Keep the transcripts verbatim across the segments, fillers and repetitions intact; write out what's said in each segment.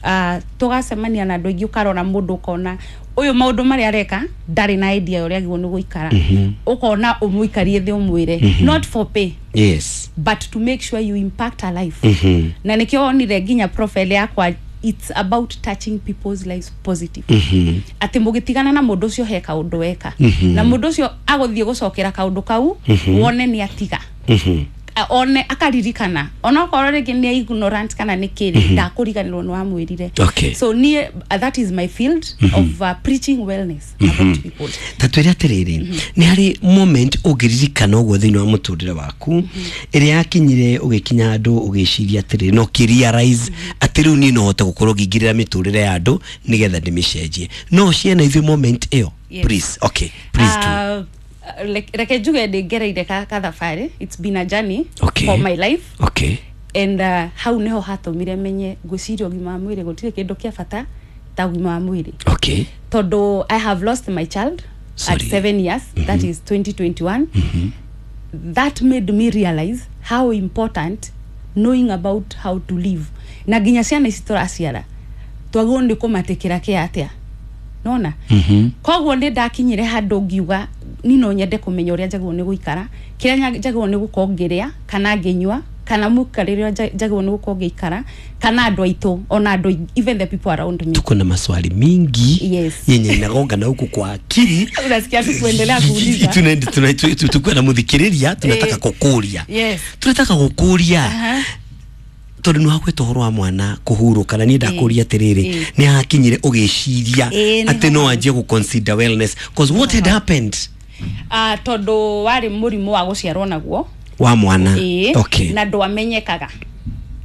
Uh, tũgacemania na andũ aingĩ, ũkarora mũndũ ũkona ũyũ maũndũ marĩa areka ndarĩ na idea ya ũrĩa agĩrĩirwo nĩ gũikara. Ũkona ũmũikarie thĩ ũmwĩre, not for pay, yes but to make sure you impact a life. Na nĩkĩo wonire nginya profile yakwa, it's about touching people's lives positive, atĩ mũgĩtigana na mũndũ ũcio he kaũndũ weka na mũndũ ũcio agũthiĩ gũcokera kaũndũ kau, wone nĩ atiga, A- one akaririkana, onokorwo rĩngĩ nĩ ignorant kana nĩ kĩrĩ, ndakũriganĩrwo nĩ wamwĩrire. Okay. So niĩ, uh, that is my field of uh, preaching wellness about people. Ta twĩre atĩrĩrĩ, nĩ harĩ moment ũngĩririkana ũguo thĩinĩ wa mũtũrĩre waku ĩrĩa yakinyire ũgĩkinya handũ ũgĩciria atĩrĩrĩ na ũkĩrealize atĩ rĩu niĩ no hote gũkorwo ngĩingĩrĩra mĩtũrĩre ya andũ nĩgetha ndĩmĩcenjie? No ciana ithuĩ moment ĩyo? Yes. Please, okay, please do. Uh, like- reke njuge ndĩ ngereire ka kathabarĩ. It's been a journey Okay. for my life. Okay and uh, hau niho hatũmire menye ngwĩciria ũgima wa mwĩrĩ gũtirĩ kĩndũ kĩa bata ta ũgima wa mwĩrĩ, okay tondũ I have lost my child Sorry. at seven years. That is twenty twenty-one. That made me realize how important knowing about how to live, na nginya ciana ici tũraciara twagĩrĩirwo nĩ kũmatĩkĩra kĩa atĩa nona. Koguo nĩ ndakinyire handũ ngiuga ni no nyende kũmenya ũrĩa njagĩrĩirwo nĩ gũikara, kĩrĩa nya- njagĩrĩirwo nĩ gũkorwo ngĩrĩa kana ngĩnyua, kana mũikarĩre ũrĩa nja- njagĩrĩirwo nĩ gũkorwo ngĩikara, kana andũ aitũ, ona andũ, even the people around me. Tuko na maswali mingi Yes. yenye inagonga huku kwa akili. Unasikia tu kuendelea kuuliza. Tuna- tuna- tu- tu- tukiwa na muthikiriria tunataka Eh. kukuria, yes tunataka gukuria, Aha. tondu nĩ wakwĩta ũhoro wa mwana kũhurũka, na niĩ ndakũria atĩrĩrĩ, Eh. nĩ hakinyire ũgĩciria Eh, nĩ atĩ no ho. anjie gũ-consider wellness? 'Cause what had happened? Ah, tondũ warĩ mũrimũ wa gũciarwo naguo. Wa mwana? Ĩĩ. Okay na ndwamenyekaga,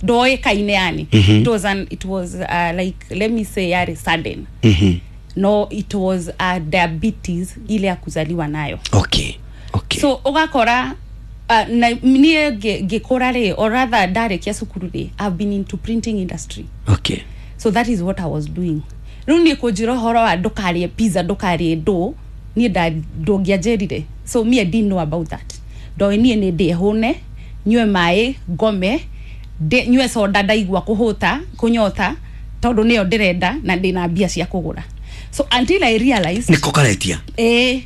ndoĩkaine yani. It was an, it was uh, like, let me say, yarĩ sudden. Mhm. No, it was uh, diabetes ile ya kuzaliwa nayo. okay okay So ũgakora uh, na niĩ ngĩ- ngĩkũra rĩ, or rather ndarĩkia cukuru rĩ, I've been into printing industry. Okay so that is what I was doing. Rĩu niĩ kũnjĩra ũhoro wa ndũkarĩe pizza, ndũkarĩe ndũ, niĩ nda- ndũngĩanjĩrire. So me, I didn't know about that. Ndoĩ niĩ nĩ ndĩe hũne, nyue maĩ, ngome, ndĩ- nyue soda ndaigua kũhũta kũnyota, tondũ nĩyo ndĩrenda na ndĩna mbia cia kũgũra. So until I realized nĩko karetia. Ĩĩ,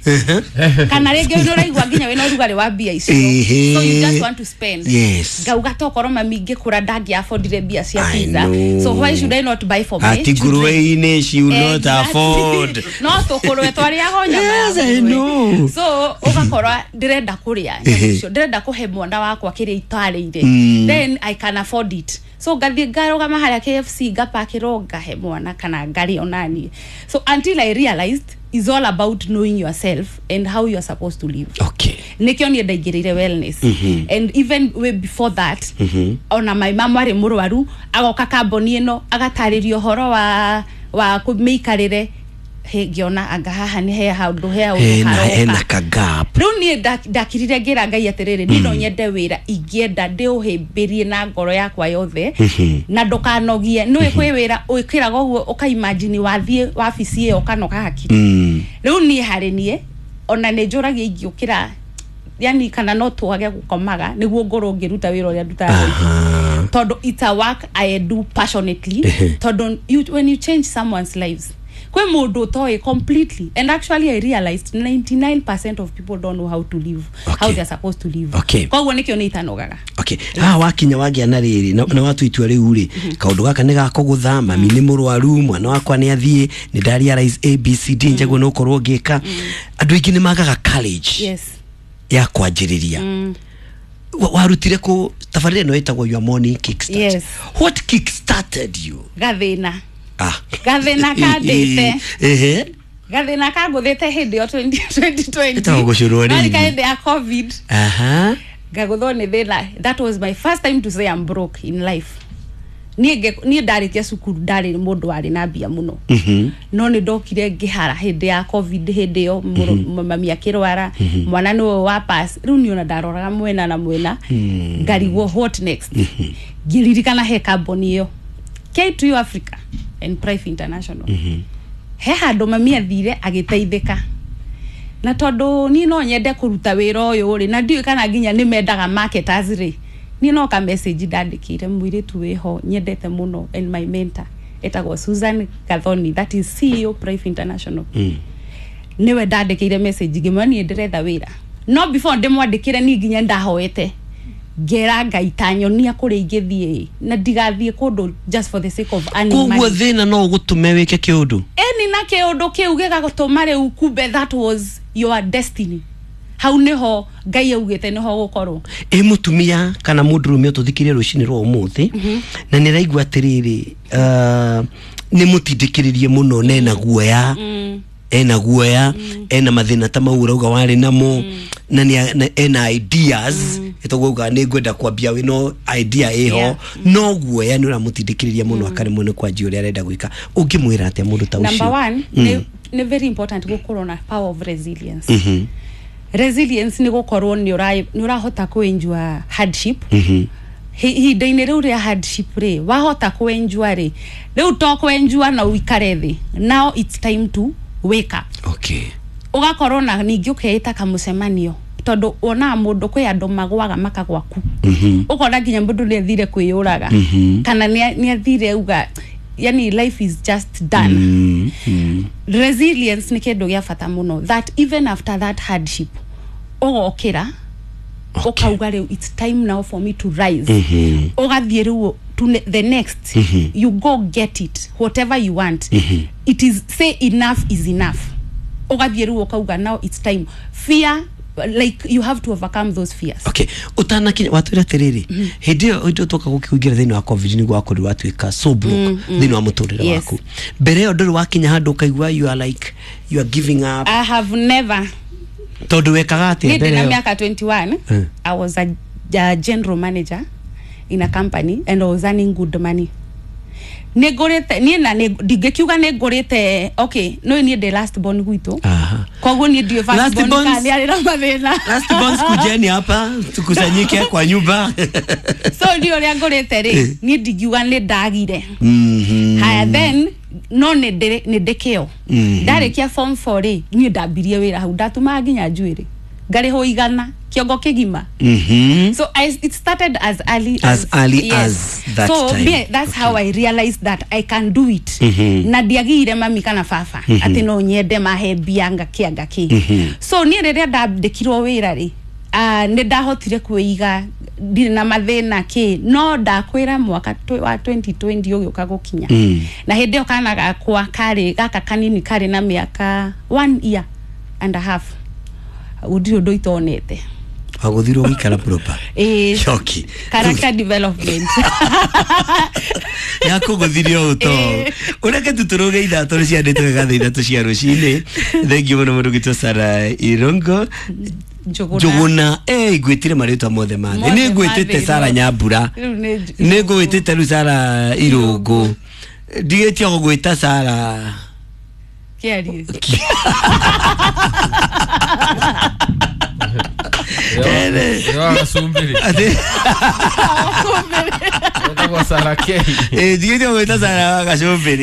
kana rĩngĩ nĩ ũraigua nginya wĩna ũrugarĩ wa mbia icio. Ĩhĩ. So you just want to spend. Yes. Ngauga tokorwo mami ngĩkũra ndangĩ affordire mbia cia I pizza, know. so why should I not buy for my ati children? nguruwe-inĩ she will not Exactly. afford. No tũkũrwe twarĩaga o nyama ya Yes, I ngũrwe. know. So ũgakora ndĩrenda kũrĩa nyama icio, ndĩrenda kũhe mwana wakwa kĩrĩa itarĩire, then I can afford it. So ngathiĩ ngarũgama harĩa K F C, ngapakĩrwo, ngahe mwana kana ngarĩa onaniĩ. So until I realized is all about knowing yourself and how you are supposed to live. Okay Nikio niĩ ndaingĩrĩire wellness. And even way before that, ona my mom arĩ mũrwaru agoka kamboni ĩno agatarĩria ũhoro wa wa mĩikarĩre. Hĩ, ngĩona anga haha nĩ he handũ he handũ hena haroka. Hena ka gap. Rĩu niĩ nda- ndakirire ngĩra Ngai atĩrĩrĩ, niĩ no nyende wĩra ingĩenda ndĩũhĩmbĩrie na ngoro yakwa yothe na ndũkanogie. Nĩũĩ kwĩ wĩra wĩkĩraga ũguo ũkaimagine wathiĩ wabici ĩyo ũkanoga hakiri. Mm. Rĩu niĩ harĩ niĩ ona nĩ njũragia ingĩũkĩra, yani kana no twage gũkomaga nĩguo ngorwo ngĩruta wĩra ũrĩa ndutaga, Aha. tondũ it's a work I do passionately, tondũ you, when you change someone's lives, kwĩ mũndũ ũtoĩ completely. And actually I realized ninety-nine percent of people don't know how to live, Okay. how they're supposed to live. Okay. Koguo nĩkĩo nĩ itanogaga. Okay, haha wakinya wagĩa na rĩrĩ na, na watua itua rĩu rĩ, kaũndũ gaka nĩ gakũgũtha, mami nĩ mũrwaru, mwana wakwa nĩ athiĩ, nĩ nda realize A B C D njagwo nĩ ũkorwo ngĩka, andũ aingĩ nĩ magaga courage yes ya kwanjĩrĩria. Wa- warutire kũ tabarĩra ĩno ĩtagwo Your Morning Kickstart? Yes. What kickstarted you? Gathĩna. Ah. Gathĩna kandĩte. Ehe. Gathĩna kangũthĩte hĩndĩ ĩyo twenty twenty. Ĩtagwo gũcũrwo rĩngĩ. Warika hĩndĩ ya COVID, aha ngagũthwo nĩ thĩna. That was my first time to say I'm broke in life. Niĩ nge- niĩ ndarĩkia cukuru ndarĩ mũndũ warĩ na mbia mũno, Mhm. no nĩ ndokire ngĩhara hĩndĩ ya COVID. Hĩndĩ ĩyo mũrũ- mami akĩrwara, mwana nĩwe wa pass. Rĩu niĩ ona ndaroraga mwena na mwena ngarigwo what next. Ngĩririkana he kamboni ĩyo K two Africa and Prife International, he handũ mami athire agĩteithĩka, na tondũ niĩ no nyende kũruta wĩra ũyũ rĩ, na ndiũĩ kana nginya nĩ mendaga marketers rĩ, niĩ no ka message ndandĩkĩire mũirĩtu wĩho nyendete mũno and my mentor. Etagwo Susan Gathoni, that is C E O Prife International. Mm. Niwe ndandĩkĩire message ngĩmwĩra niĩ ndĩretha wĩra. No before ndĩmwandĩkĩre niĩ nginya ndahoete ngera Ngai ta nyonia kũrĩa ingĩthiĩ na ndigathiĩ kũndũ just for the sake of earning Koguo money. thĩna no ũgũtũme wĩke kĩũndũ. Eni na kĩũndũ kĩu gĩgagũtũma rĩu kumbe that was your destiny. Hau nĩho Ngai augĩte nĩho gũkorwo. Ĩ mũtumia kana mũndũrũme ũtũthikĩrie rũcinĩ rwa ũmũthĩ na nĩ araigua atĩrĩrĩ, uh, nĩ mũtindĩkĩrĩrie mũno na ena guoya, ena guoya, ena mathĩna ta mau ũrauga warĩ namo, na nĩ na ena ideas ĩtagwo uga nĩ ngwenda kwambia wĩ no idea ĩho, Yeah. no guoya nĩ ũramũtindĩkĩrĩria mũno akaremwo nĩ kwanjia ũrĩa arenda gwĩka. Ũngĩmwĩra atĩa mũndũ ta ũcio? Number one, nĩ nĩ very important gũkorwo na power of resilience. Mhm. Resilience nĩ gũkorwo nĩ ũra- nĩ ũrahota kũ-endure hardship. Mhm. Hi- ihinda-inĩ rĩu rĩa hardship rĩ, wahota kũ-endure rĩ, rĩu to kũ-endure na ũikare thĩ. Now it's time to wake up. Okay. Ũgakorwo na ningĩ ũkeĩta kamũcemanio tondũ wonaga mũndũ kwĩ andũ magwaga makagwa ku. Mhm. Ũkona nginya mũndũ nĩ athire kwĩyũraga Mhm. kana nĩ athire uga yani life is just done. Mm, mm. Resilience nĩ kĩndũ gĩa bata mũno that even after that hardship ũgokĩra Okay. ũkauga rĩu it's time now for me to rise. Mhm. Ũgathiĩ rĩu to ne- the next. Mhm. You go get it whatever you want. Mhm. It is say enough is enough. Ũgathiĩ rĩu ũkauga now it's time. Fear, like you have to overcome those fears. Okay, utanakinya watwira atiriri hindi iyo hindi twoka gukĩingĩra thĩinĩ wa covid nĩguo wakorirwo watuĩka so broke thĩinĩ wa mũtũrĩre Yes. waku. Mbere ĩyo ndũrĩ wakinya handũ ũkaigua you are like you are giving up. I have never. Tondũ wekaga atĩa Niĩ mbere ndĩna ĩyo? mĩaka twenty-one. Mm. I was a, a general manager in a company and I was earning good money. Nĩ ngũrĩte niĩ na nĩ- ndingĩkiuga nĩ ngũrĩte, okay, no niĩ ndĩ last born gwitũ. Aha. Koguo niĩ ndiũĩ first Last born borns- kana nĩ arĩ na mathĩna. Last borns kujeni hapa tukusanyike kwa nyumba. So ndiũ ũrĩa ngũrĩte rĩ, niĩ ndingiuga nĩ ndagire. Mhm. Haya then no nĩ ndĩ nĩ ndĩ kĩo. Mhm. Ndarĩkia form four rĩ, niĩ ndambirie wĩra hau ndatumaga nginya njuĩrĩ. Ngarĩhwo igana kĩongo kĩgima. Mhm. So I, it started as early As as, early yes. as that so, time. Me, that's okay. How I realized that I can do it. Mhm. Na ndiagire mami kana baba mm -hmm. Ati no nyende mahe mbia ngakĩ ngakĩ. Mm -hmm. So niĩ rĩrĩa ndandĩkirwo wĩra rĩ, uh, nĩ ndahotire kwĩiga ndirĩ na mathĩna kĩ, no ndakwĩra mwaka wa twenty twenty ũgĩũka gũkinya. Mm. Na hĩndĩ ĩyo kana gakwa karĩ gaka kanini karĩ na mĩaka one year and a half. Gũtirĩ ũndũ itonete. Waguthirwo gũikara proper. Eh, Shoki. Character development. Yakũgũthirie ũũ to. Ũreke tutũrũge ithatũ nĩ ciandĩtwo wega thaa ithatũ cia rũcinĩ. Thank you mũno mũndũ gwitũ Sarah Irungu. Njũgũna. Njũgũna. Eh, ngwĩtire marĩtwa mothe ma thĩ. Mothe Nĩ ngwĩtĩte ma thĩ, Sarah no. Nyambura. Rĩu nĩ Nĩ ngwĩtĩte rĩu Sarah Irungu. Ndigĩtie gũgwĩta Sarah Kĩarie.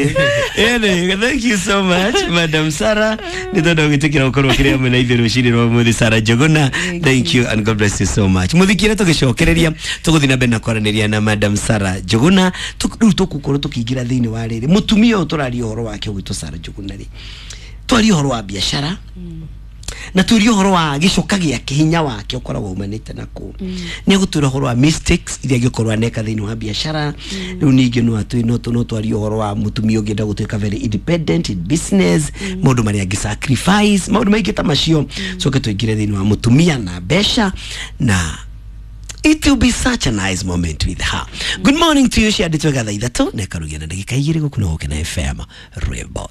Thank you so much, Madam Sarah. Nĩ tondũ gwĩtĩkĩra gũkorwo ũkĩrĩ hamwe na ithuĩ rũcinĩ rwa ũmũthĩ, Sarah Njũgũna. Thank you and God bless you so much. Mũthikĩre tũgĩcokereria tũgũthiĩ na mbere na kwaranĩria na Madam Sarah Njũgũna. Rĩu tũgũkorwo tũkĩingĩra thĩinĩ wa rĩrĩ mũtumia ũyũ tũraria ũhoro wake ũgwĩtwo Sarah Njũgũna rĩ, twarie ũhoro wa biacara na turie ũhoro wa gĩcoka gĩake, hinya wake ũkoragwo umanĩte naku. Nĩ egũtwĩra ũhoro wa mistakes iria angĩkorwo aneka thĩinĩ wa biacara. Rĩu ningĩ no atwĩ no no twarie ũhoro wa mũtumia ũngĩenda gũtuĩka very independent in business, maũndũ marĩa angĩ sacrifice, maũndũ maingĩ ta macio. Coke tũingĩre thĩinĩ wa mũtumia na mbeca, na it will be such a nice moment with her. Good morning to you. Ciandĩtwo thaa ithatũ na ĩkarugia na ndagĩka igĩrĩ gũkũ na Gũkena F M Rwĩmbo.